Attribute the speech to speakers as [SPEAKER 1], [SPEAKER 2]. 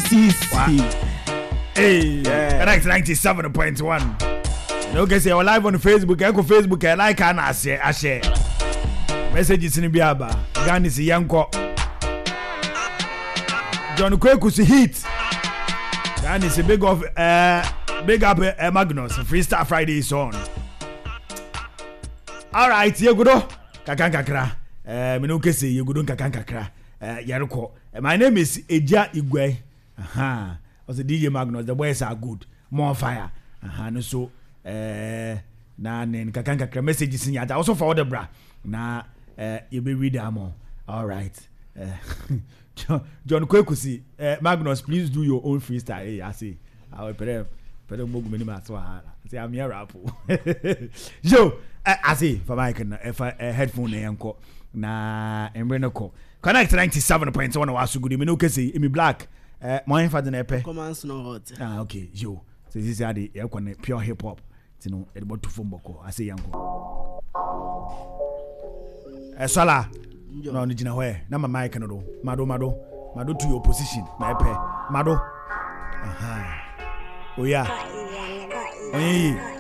[SPEAKER 1] Sisi. Hey, yeah. Connect 97.1. Okay, say we're live on Facebook. Echo Facebook, I like and I share. I share. Messages in Biaba. Ghana is Yanko. John Kweku si heat. Ghana is a big of big up Magnus. Freestyle Friday is on. All right, yegudo. Kakra kakra. Minu kese yegudo kakra kakra. Yerko. My name is Eja Igwe. Aha. Also DJ Magnus, the boys are good. More fire. Aha, no so na ne nkakra nkakra messages ni ata. Also for the bra. Na you be read am. All right. John Kwekusi, Magnus, please do your own freestyle. Hey, I see. I will pere pere mo gumeni ma so ha. Say I'm here rap. Yo, I see for mic na for headphone na yanko. Na emre no ko. Connect 97.1 wa so good. Me no kese Emi Black. Mo enfa de na epe.
[SPEAKER 2] Command no hot.
[SPEAKER 1] Ah, okay. Yo. So this is ade e ko ne pure hip hop. Ti no e de botu fom boko. I say yanko. Sala. No no gina ho e. Na ma mic no do. Mado mado. Mado to your position. Na epe. Mado. Aha. Oh yeah. Oye.